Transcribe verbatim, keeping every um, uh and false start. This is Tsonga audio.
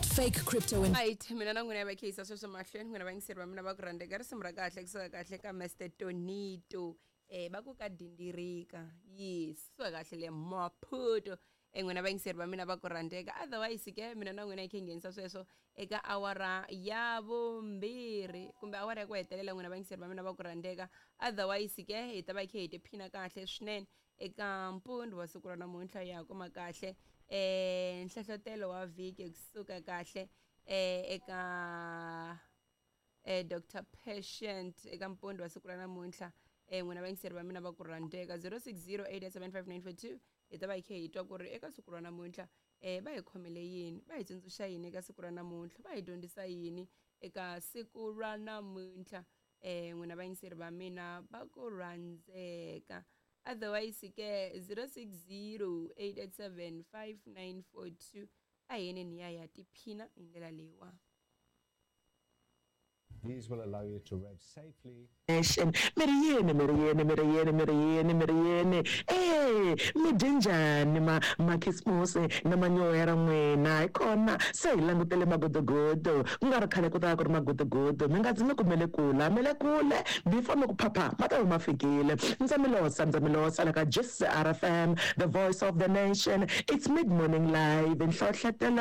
Not fake crypto and Right, mina na n'wina va khiyisa sweswo mahlweni. N'wina vayingiseri va mina va ku rhandzeka, risimu ra kahle kusuka kahle ka Mister Tonito, eh va ku ka dindirika. Yes, suka kahle le Maputo. eh n'wina vayingiseri va mina va ku rhandzeka. Otherwise ke mina na n'wina hi khe hi nghenisa sweswo eka awara ya vumbirhi kumbe awara ya ku hetelela, n'wina vayingiseri va mina va ku rhandzeka. Otherwise ke hi ta va hi khe hi tiphina kahle swinene eka mpundzu wa siku ra namuntlha. Ya kuma kahle eh nhlohlotelo wa vhiki kusuka kahle eh eka eh Doctor Patient eka mpundzu wa siku ra namuntlha. eh n'wina vayingiseri va mina va ku rhandzeka, zero six zero eight seven five nine four two, hi ta va hi khe hi twa ku ri eka siku ra namuntlha eh va hi khomele yini, va hi tsundzuxa yini eka siku ra namuntlha, va hi dyondzisa yini eka siku ra namuntlha, eh n'wina vayingiseri va mina va ku rhandzeka. Otherwise ke zero six zero eight eight seven five nine four two, a hi yeneni ya ya tiphina hi ndlela leyiwa. These will allow you to rev safely. Nation, mi ri yini, mi ri yini, mi ri yini, mi ri yini, mi ri yini? E mi dye njhani ma makhisimusi na manyoya n'wina? Hi kona se hi langutele magodogodo, ku nga ri khale ku ta va ku ri magodogodo. Mi nga zi mi kumele kula mi le kule, before mi ku phapha ma ta va ma fikile. Ndza mi losa, ndza mi losa la ka G C R F M, the voice of the nation. It's Mid Morning Live, nhlohletelo.